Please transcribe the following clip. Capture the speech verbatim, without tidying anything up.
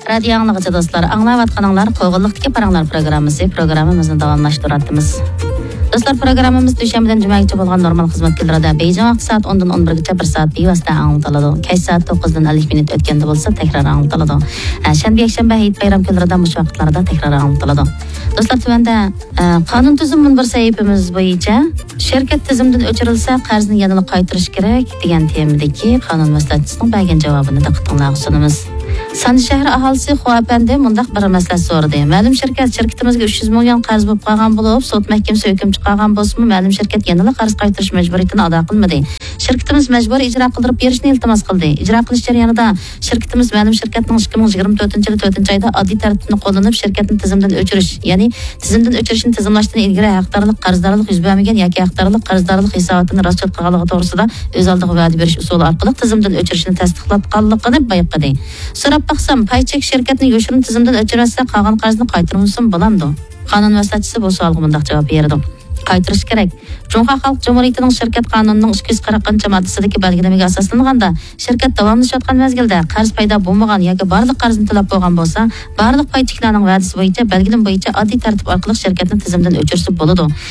رادىيو ئاڭلىغۇچى دوستلار، ئاڭلاۋاتقىنىڭلار قوغۇنلۇقتىكى پاراڭلار پروگراممىسى. پروگراممىمىزنى داۋاملاشتۇرۇۋاتىمىز. دوستلار، پروگراممىمىز دۈشەنبىدىن جۈمەگىچە بولغان نورمال خىزمەت كۈنلىرىدە بېيجىڭ ۋاقتى سائەت ئوندىن ئون بىرگىچە بىر سائەت بىۋاسىتە ئاڭلىتىلىدۇ. كەچ سائەت توققۇزدىن ئەللىك مىنۇت ئۆتكەندە بولسا تەكرار ئاڭلىتىلىدۇ. ھە، شەنبە، يەكشەنبە، ھېيت بايرام كۈنلىرىدە مۇشۇ ۋاقىتلاردا تەكرار ئاڭلىتىلىدۇ. دوستلار، تۆۋەندە، ئە، قانۇن تۈزۈم مۇنبىرى سەھىپىمىز بويىچە شىركەت تىزىمدىن ئۆچۈرۈلسە، قەرزنى يەنىلا قايتۇرۇش كېرەك دېگەن تېمىدىكى قانۇن مەسلىھەتچىسىنىڭ بەرگەن جاۋابىنى دىققىتىڭلارغا سۇنىمىز. سانجى شەھىرى ئاھالىسى خۇا ئەپەندى مۇنداق بىر مەسلىھەت سورىدى. مەلۇم شىركەت شىركىتىمىزگە ئۈچ يۈز مىليون قەرز بولۇپ قالغان بولۇپ، سوت مەھكىمىسى ھۆكۈم چىقارغان بولسىمۇ، مەلۇم شىركەت يەنىلا قەرز قايتۇرۇش مەجبۇرىيىتىنى ئادا قىلمىدى. شىركىتىمىز مەجبۇرىي ئىجرا قىلدۇرۇپ بېرىشنى ئىلتىماس قىلدى. ئىجرا قىلىش جەريانىدا شىركىتىمىز مەلۇم شىركەتنىڭ ئىككى مىڭ يىگىرمە تۆتىنچى يىلى تۆتىنچى ئايدا ئاددىي تەرتىپنى قوللىنىپ، شىركەتنى تىزىمدىن ئۆچۈرۈش، يەنى تىزىمدىن ئۆچۈرۈشنى تىزىملاشتىن ئىلگىرى ھەقدارلىق قەرزدارلىق يۈز بەرمىگەن ياكى ھەقدارلىق قەرزدارلىق ھېساباتىنى راستچىل قىلغانلىقى توغرىسىدا ئۆز ئالدىغا ۋەدە بېرىش ئۇسۇلى ئارقىلىق تىزىمدىن ئۆچۈرۈشنى تەستىقلاتقانلىقىنى بايقىدى. سوراپ باقسام، پاي چېكىش شىركەتنى يوشۇرۇن تىزىمدىن ئۆچۈرۈۋەتسە، قالغان قەرزنى قايتۇرمىسىمۇ بولامدۇ؟ قانۇن مەسلىھەتچىسى بۇ سوئالغا مۇنداق جاۋاب بېرىدۇ. قايتۇرۇش كېرەك. جۇڭخۇا خەلق جۇمھۇرىيىتىنىڭ شىركەت قانۇنىنىڭ ئىككى يۈز قىرىقىنچى ماددىسىدىكى بەلگىلىمىگە ئاساسلانغاندا، شىركەت داۋاملىشىۋاتقان مەزگىلدە قەرز پەيدا بولمىغان ياكى بارلىق قەرزنى تۆلەپ بولغان بولسا، بارلىق پاي چېكلەرنىڭ ۋەدىسى بويىچە بەلگىلىمە بويىچە ئاددىي تەرتىپ ئارقىلىق شىركەتنى تىزىمدىن ئۆچۈرسە بولىدۇ.